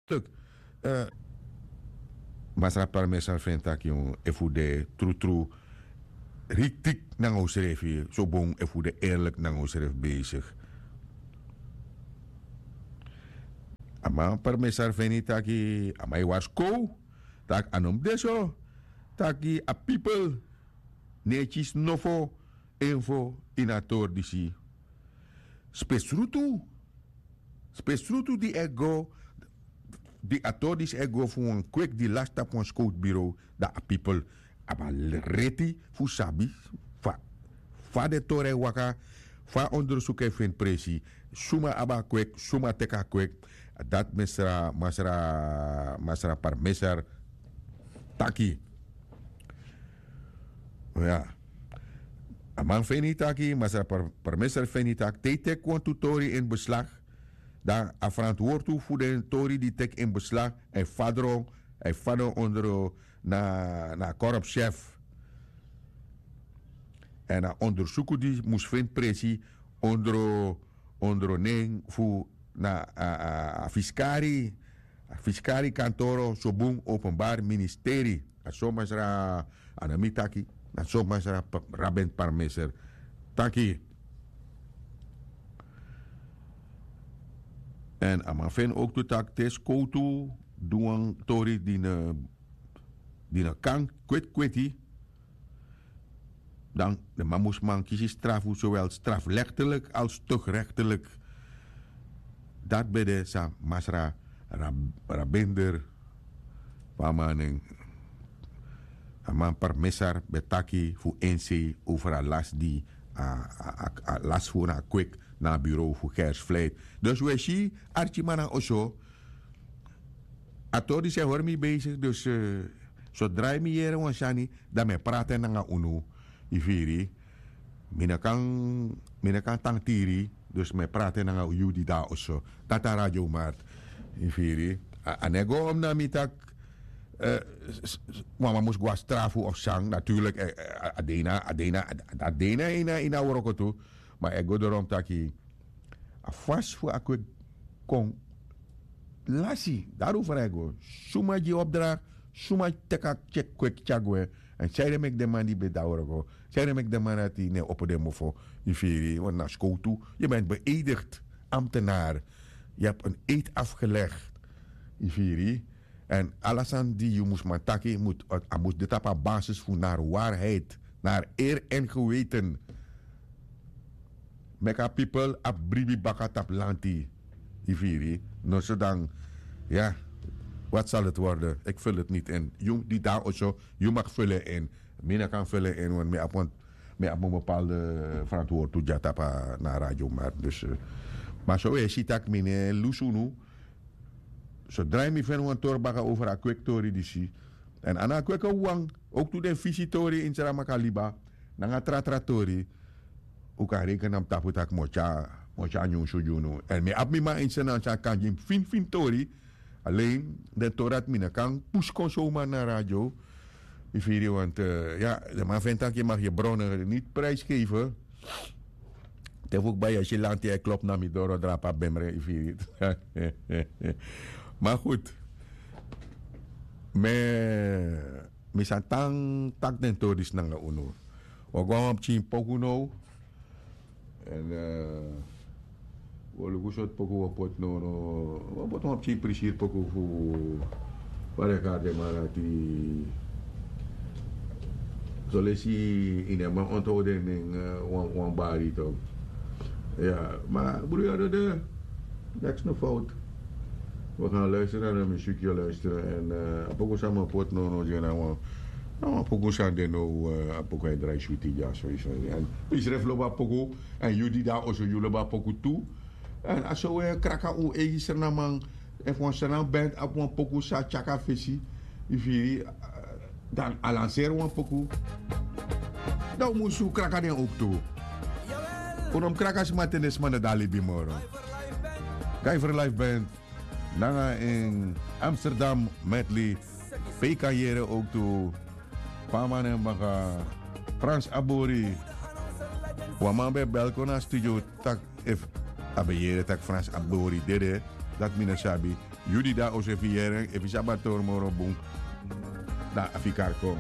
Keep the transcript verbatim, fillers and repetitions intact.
Tuk. Masra parmesar feni taki efu de trutru riktik nanga usrefi sobon efu de erlik nanga usrefi besik. A man parmesar feni taki a man e warskow, taki a no mus de so, taki a pipel no e kisi nofo, info ini a tori disi. Spesrutu spesrutu di e go, di a tori disi e go fu wan kweki di lasi tapu wan skowtu birow, dan a pipel abi a reti fu sabi fa fa den tori e waka, fa a ondersuku e feni presi, suma abi a kweki, suma teki a kweki. Dati mesra masra masra parmesar taki. Ya. A man feni taki masra parmesar feni taki te yu teki wantu tori ini beslag, dan a ferantwortu fu den tori di teki ini beslag èn fadron èn fadron ondro na a korpschef. Èn a ondersuku di mus feni presi ondro ondro nen fu na a fiskari a fiskari kantoro sobun openbari ministeri. A so masra a no mi taki, na so masra rabent parmeser taki. Èn a man feni owktu taki te skowtu du wan tori di no kan kweti kweti, dan den man mus man kisi strafu sowel straflektelik als tukrektelik. Dati ben de san masra rabender fu a man nen. A man parmesar ben taki fu ensei over a lasi di a lasi fu na a kweki na a bureau fu gersfleit. Dus un e si arkiman na oso. A tori disi e hori mi besigi dus sodra yu mi yere wan sani, dan mi e prati en nanga unu. Yu firi? Mi no kan mi no kan tangtiri. Dus mi e prati en nanga yu di de na oso. Dati a radio mart. Yu firi? A no e go om na mi tak' wan man mus go na strafu of san naturlik. A de ini a de ini a wroko tu. Ma a e go dorom taki a fasi fu a kweki kon lasi. Dari un frai go suma gi yu opdra, suma teki a kweki tyari gwe? Èn san ede meki den man di ben de na wroko, san ede meki den man dati no e opo den mofo? Yu firi? Want na skowtu yu ben beedigd ambtenaar. Yu habi en eid afgelegd. Yu firi? Èn ala sani di yu mus man taki a mus de tapu a basis fu nari waarheid, nari eer èn geweten. Meki a pipel abi bribi baka tapu lanti. Yu firi? Noso dan ya. Wat sal heti worden? Iki ful heti niti in. Yu di de na oso, yu maki ful en in. Mi no kan ful en in want mi abi wan bepalde ferantwortu dya tapu na a radio mart. Dus ma so un e si tak' mi no e lusu unu. Sodra yu mi feni wan tori baka over a kweki tori disi. Èn a no a kweki wawan. Owktu den fisi tori ini sramaka liba nanga tratra tori, un kan reken na mi tapu tak' mi o tyari nyunsu gi unu. Èn mi abi mi man ini srnan san kan gi mi finfin tori. Alen den tori dati mi no kan pusi kon sowman na radio. Yu firi? Want ya, den man feni tak' yu maki yu bronne niti prijsgefe. Te fu kba yu e si lanti e klopu na mi doro drapu a bemre. Yu firi? Ma gudu, mi sa tan taki den tori disi nanga unu. Un o go na wan pikin poku now. Èn un o luku sortu poku un o poti now. Un o poti wan pikin prisiri poku fu fadekar den man dati. Solesi yu no e man onthou den nen. Wan bari tok'. Ya, ma bruya dede. Neks no fout. We gan luisteren na mi suki o luisteren. Èn a poku san mi o poti now no gi en na wan poku san de now. A poku e drai switi dya so yu sani èn yu srefi lobi a poku. Èn yu di de na oso yu lobi a poku tu. Èn a so un e kraka un eigi srnaman. Efu wan srnan bent abi wan poku san tyaki a fesi, yu firi, dan a lanseri wan poku. Dan un mus kraka den owktu. Un no mus kraka sma te den sma no de na libi moro. Gaifer life bent nanga en amsterdam medley. Pe yu kan yere owktu. Pe a man nen baka, frans abori. Wan man ben e bel kon na a studio tak' efu a ben yere tak' frans abori dede. Dati mi no sabi. Yu di de na oso, efu yu yere en, efu yu sabi a tori moro bun, dan a fika kon.